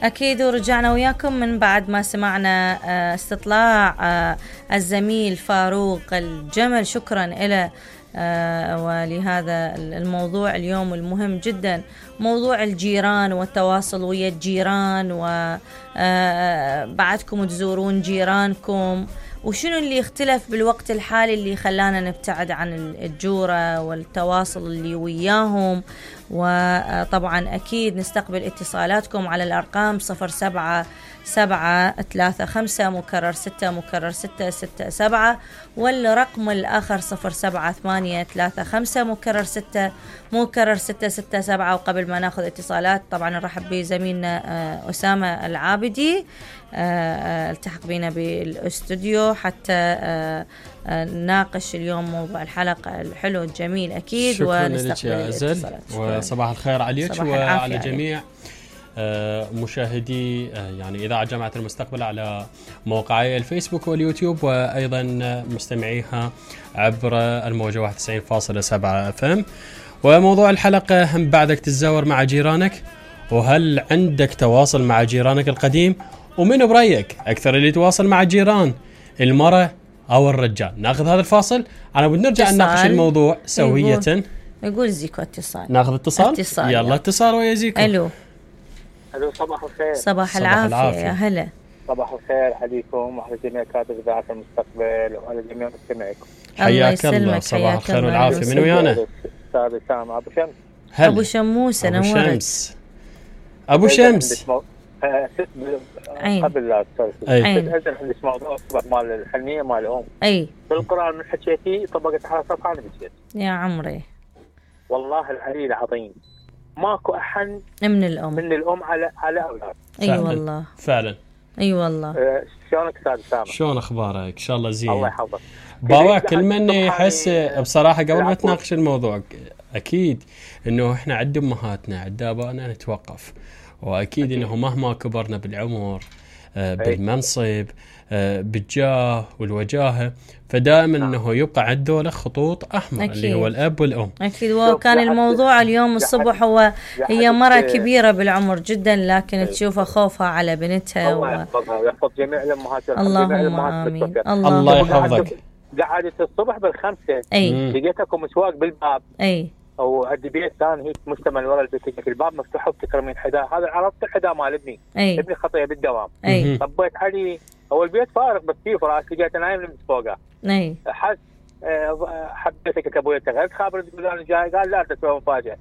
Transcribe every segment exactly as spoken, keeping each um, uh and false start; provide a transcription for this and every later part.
أكيد. ورجعنا وياكم من بعد ما سمعنا استطلاع الزميل فاروق الجمل. شكرا له ولهذا الموضوع اليوم المهم جدا، موضوع الجيران والتواصل ويا الجيران، وبعدكم تزورون جيرانكم، وشنو اللي اختلف بالوقت الحالي اللي خلانا نبتعد عن الجورة والتواصل اللي وياهم. وطبعا أكيد نستقبل اتصالاتكم على الأرقام صفر سبعة سبعة ثلاثة خمسة مكرر ستة مكرر ستة ستة سبعة، والرقم الآخر صفر سبعة ثمانية ثلاثة خمسة مكرر ستة مكرر ستة ستة سبعة. وقبل ما ناخذ اتصالات طبعا نرحب بزميلنا أسامة العابدي التحق بنا بالاستوديو حتى نناقش اليوم موضوع الحلقة الحلو الجميل أكيد. ونستقبل الاتصالات. وصباح الخير عليك وعلى جميع مشاهدي يعني إذاعة جامعة المستقبل على موقعي الفيسبوك واليوتيوب، وأيضا مستمعيها عبر الموجة واحد وتسعين فاصلة سبعة اف ام. وموضوع الحلقة: هم بعدك تتزاور مع جيرانك؟ وهل عندك تواصل مع جيرانك القديم؟ ومن برأيك أكثر اللي يتواصل مع الجيران، المرأة أو الرجال؟ ناخذ هذا الفاصل أنا بنرجع نناقش الموضوع سوية. يقول, يقول زيكو اتصال. ناخذ اتصال, اتصال يلا اتصال ويا زيكو. ألو. ألو صباح الخير. صباح, صباح العافية. العافية يا هلا. صباح الخير عليكم وعلى جميع كاتب إذاعة المستقبل وعلى جميع مستمعيكم. حياك الله. صباح الخير والعافية. من ويانا؟ أستاذ أسامة أبو شمس. أبو شموس. أنا أبو شمس. أبو شمس. قبل لا أستاذ أذن عندي موضوع الصبح مال الحنية مال الأم. أي. بالقرآن من حكيتي طبقت على صفحة أنا بجيت. يا عمري. والله العلي العظيم ماكو أحن من الأم من الأم على على أولاد. أي أيوة والله. فعلا. أي أيوة والله. أه شلونك أستاذ سامر؟ شلون أخبارك؟ إن شاء الله زين. الله يحفظك. باوا كل من يحس بصراحة قبل ما تناقش الموضوع أكيد إنه إحنا عند أمهاتنا عند آبائنا نتوقف، وأكيد إنه مهما كبرنا بالعمر بالمنصب بالجاه والوجاهة فدائما انه يبقى عنده خطوط احمر أكيد. اللي هو الاب والام. اكيد. وكان الموضوع اليوم الصبح هو هي مرة كبيرة بالعمر جدا لكن تشوفها خوفها على بنتها. الله يحفظها ويحفظ جميع الامهات. اللهم امين. الله يحفظك. قعدت الصبح بالخمسة لقيتكم مسواق بالباب. اي. او عندي بيت ثاني هيك مشتمل ورا البيت، الباب مفتوح وبتكرمين حذاء، هذا عرفت الحذاء مال ابني. أي. ابني خطيه بالدوام. اي. طبيت علي هو البيت فارغ بس فيه فراش، لقيته نايم لمس فوقه. اي. حس حبيتك ابوي تغيرت خابر تقول انا جاي، قال لا تسوي مفاجاه.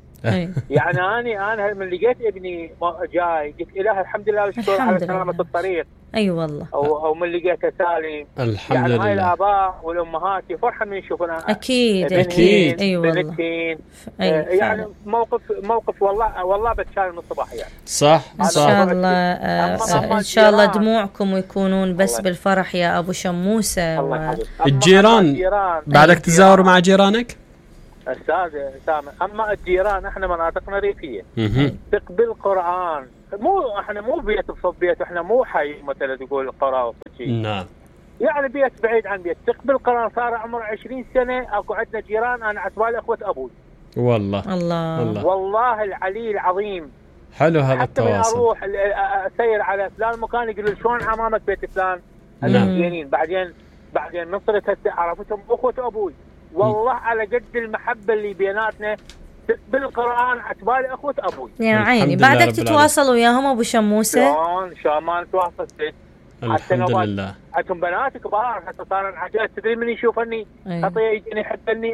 يعني اني انا من لقيت ابني جاي قلت اله الحمد لله والشكر على سلامه الطريق. اي أيوة والله. او او من لقيته سالم الحمد يعني لله. هاي الاباء والامهات يفرحوا من يشوفون اكيد اكيد. اي والله. بنتين. أيوة يعني موقف موقف والله والله بتشال من الصباح يعني. صح ان شاء الله آه ان شاء الله دموعكم يكونون بس الله. بالفرح يا ابو شموسه. و... الجيران بعدك تزاور مع جيرانك؟ استاذ سامي، اما الجيران احنا مناطقنا ريفيه تقبل القران، مو احنا مو بيت بصوب بيت، احنا مو حي مثلا تقول قرى وشيء. نعم. يعني بيت بعيد عن بيت تقبل القران. صار عمره عشرين سنه اكو عندنا جيران انا عتبال اخوه ابوي. والله الله الله, والله العلي العظيم. حلو هذا التواصل. حتى من اروح اسير على فلان مكان يقولوا شلون عمامك بيت فلان. نعم. بعدين بعدين نصرت عرفتهم اخوه ابوي. والله على قد المحبة اللي بيناتنا بالقرآن عتبال أخوة أبوي. يا عيني. بعدك تتواصل وياهم أبو شموسة؟ شلون شلون ما نتواصل. الحمد لله. عندهم بنات كبار حتى صار الحاجات تدري من يشوفني خطية يجيني يحبني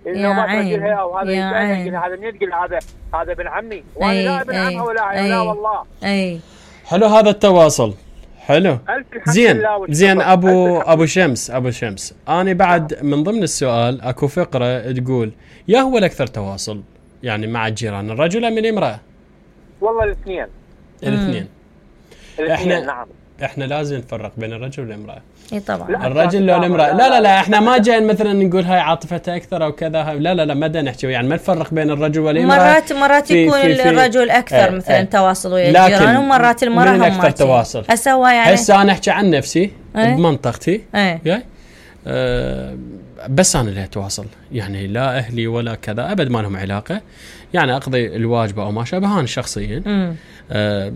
يا عيني. أو هذا يجيني هذا من يقول هذا هذا ابن عمي وأنا لا ابن عمه ولا لا والله. أي. حلو هذا التواصل. حلو زين زين ابو ابو شمس ابو شمس انا بعد من ضمن السؤال اكو فقره تقول يا هو الاكثر تواصل يعني مع الجيران، الرجل ام الامراه؟ والله الاثنين. الاثنين. احنا نعم احنا لازم نفرق بين الرجل والامراه. اي طبعا. الرجل لو الامراه لا لا لا احنا ما جايين مثلا نقول هاي عاطفتها اكثر او كذا، لا لا لا ما بدنا نحكي يعني ما نفرق بين الرجل والامراه. مرات مرات في يكون في في الرجل اكثر اه مثلا اه تواصل ويا الجيران، ومرات المراه هم اكثر تواصل. اسوا يعني هسه انا احكي عن نفسي اه بمنطقتي اه أه بس انا اللي اتواصل يعني لا اهلي ولا كذا ابد ما لهم علاقه، يعني اقضي الواجب او ما شابه انا شخصيا. آه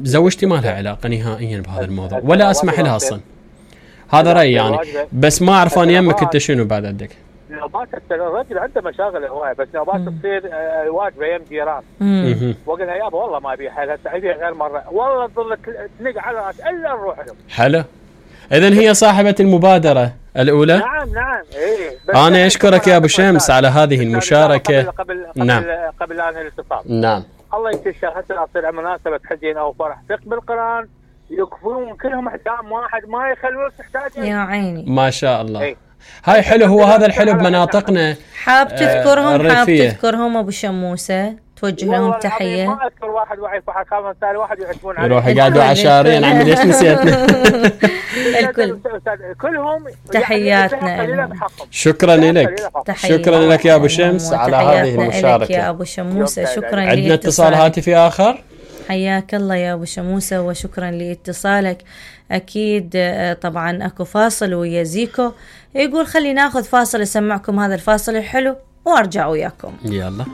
زوجتي ما لها علاقه نهائيا بهذا الموضوع ولا اسمح لها اصلا. هذا رايي يعني، بس ما اعرف انا يمك انت شنو بعد عندك. نوبات الرجل عنده مشاغل هوايه، بس نوبات تصير واجبه يم جيران. وقلنا يابا والله ما ابي حل هسه ابي غير مره، والله تظل تنق على راس الا نروح لهم. حلو. اذا هي صاحبه المبادره الاولى. نعم نعم ايه. انا اشكرك يا ابو شمس على هذه المشاركه. قبل قبل قبل, نعم. قبل ان الاتصال. نعم. الله يكتشف حتى تصير مناسبه حزين او فرح ثق بالقران يكفون كلهم احجام واحد ما يخلون تحتاج. يا عيني ما شاء الله. ايه. هاي حلو، هو هذا الحلو بمناطقنا. حاب تذكرهم آه حاب تذكرهم ابو شموسه، توجه لهم تحيه. ما اذكر واحد وعي فحال كان ثاني واحد يعتمون عليه يروح يقعدوا عشارين. عمي ليش نسيتنا؟ الكل كلهم تحياتنا لهم. شكرا لك، شكرا لك يا ابو شمس على هذه المشاركه يا ابو شموسه. شكرا. عندنا اتصال هاتفي اخر. حياك الله يا ابو شموسه وشكرا لاتصالك. اكيد طبعا اكو فاصل ويا زيكو، يقول خلي ناخذ فاصل اسمعكم هذا الفاصل الحلو وارجع وياكم. يلا.